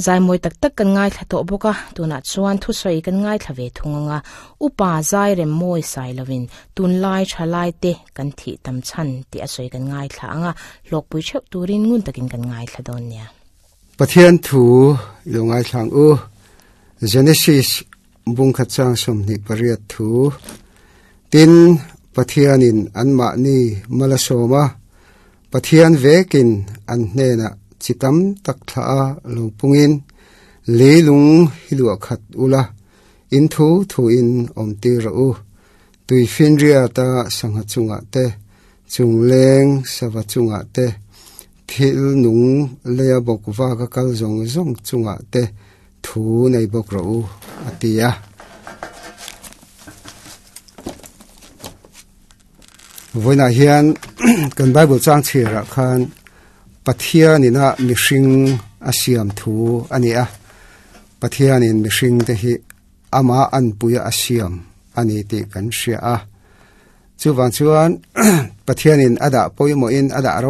Zai mawi tak tak kan ngaithla tawh bawk a, tunah chuan thusawi kan ngaithla ve thung ang a, Upa zai rem mawi sai lovin tunlai thalai te kan thih tam chhan tih a sawi kan ngaithla ang a, hlawkpui theuh turin ngun takin kan ngaithla dawn nia. Pathian thu i lo ngaithla ang u. Genesis bungkhat chang 28 thu. Tin, Pathianin anmahni mal a sawm a, Pathian vekin an hnenah chi tam tak thlah a lo pungin, Leilung hi luah khat ula, in thu thuin awm tir rawh u. Tui finriata sangha chungah te, chungleng sava chungah te, thil nung leia bawk vaka kal zawng zawng chungah te thu nei bawk rawh u, a ti a. Vawiinah hian kan Bible chang chhirah khan Pathianina mihring a siam thu a ni a. Pathianin mihring te hi ama anpuia a siam a ni tih kan hria a. Chuvang chuan Pathianin a dah pawimawhin a dah ro.